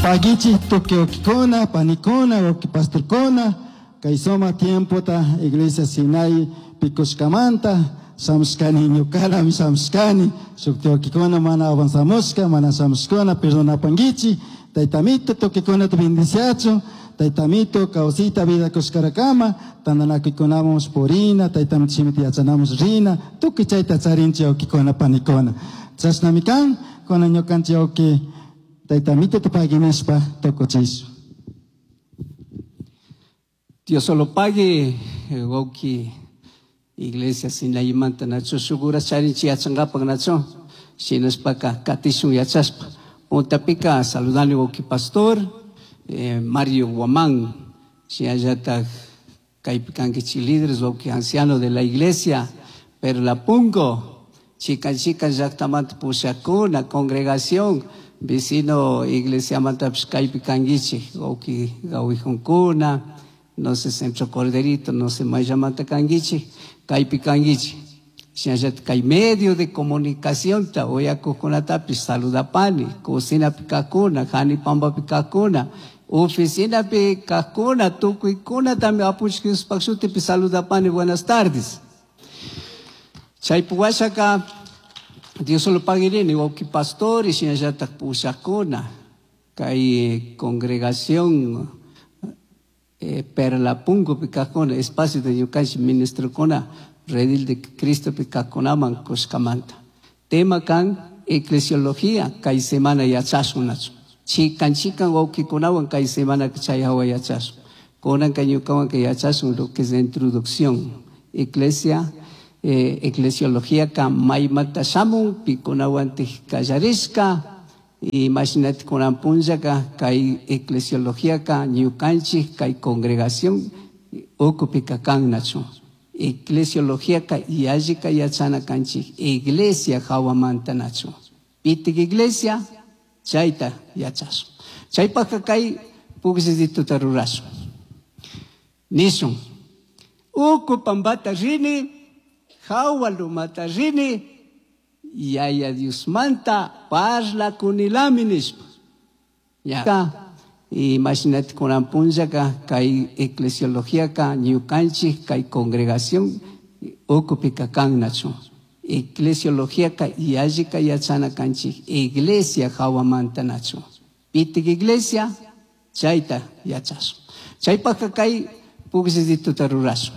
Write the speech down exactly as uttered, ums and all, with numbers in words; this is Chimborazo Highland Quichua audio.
Pagichi tukuy wawkikuna, panikuna, wawki pastorkuna, kay suma tiempota Iglesia Sinai pikushkamanta shamushkani ñukalami shamushkani, shuk wawkikuna mana avanzamushka, mana shamushkuna, perdonapanguichi, Taytamito tukuykunata bendiciachun, Taytamito kawsayta vida kushkarakama, tantanakuykunaman purina, Taytamito shimita yachanamush rina, tukuy chayta charinchik wawkikuna panikuna. Chashnami kan, kunan ñukanchik wawki Taytamito pagui nishpa tukuchishun. Dios solo pague, wawki Iglesia Sinaimanta nacho shuk charinchik yachankapak nacho shinashpaka katishun yachashpa. Puntapika saludani wawki pastor eh, Mario Guamán, shinallatak kaypi kankichik líderes wawki anciano de la iglesia Perlapungo, chikan chikan llaktamanta pushakuna congregación vecino iglesiamantapish kaypi kankichik wawki gawijunkuna, no sé Centro Corderito, no sé mayllamanta kankichik, kaypi kankichik. Shinallatak kay medio de comunicación ta uyakuqkunatapish saludapani, cocinapi kajkuna, Janipampapi kajkuna, oficinapi kajkuna, tukuykunatami Apunchik Diospaj shutipi saludapani, buenas tardes. Chaypi washaka Dios solo paguirini, wawki pastor y shinallatak pushakuna, kay congregación eh, Perlapungopi kajkuna, espacio de ñukanchik ministrokuna, redil de Cristo pi kajkunaman kushkamanta. Tema kan eclesiología, kay semana yachashun nachu. Chikan chikan wawkikunawan kay semana chay hawa yachashun. Kunanka ñukawan kay yachashun lo que es la introducción. Iglesia, eh, eclesiología ka maymanta shamun, pikunawantik kallarishka, imashinati kunan punllaka kay eclesiología ka ñukanchik kay congregación ukupika kan nachu. Eclesiología ka yallika yachana kanchik iglesia hawamanta nachu. Pitik iglesia chayta yachashun. Chaypaka kay pukllitituta rurashun. Nishun. Uku pampata rini, hawa lumata rini, Yaya Diosmanta parlakunilami nishpa. Ya. Imashinati kunan punllaka kay eclesiología ka ñukanchik kay congregación ukupika kan nachu. Eclesiología ka yallika yachana kanchik iglesia hawamanta nachu. Pitik iglesia chayta yachashun. Chaypaka kay pukllitituta rurashun.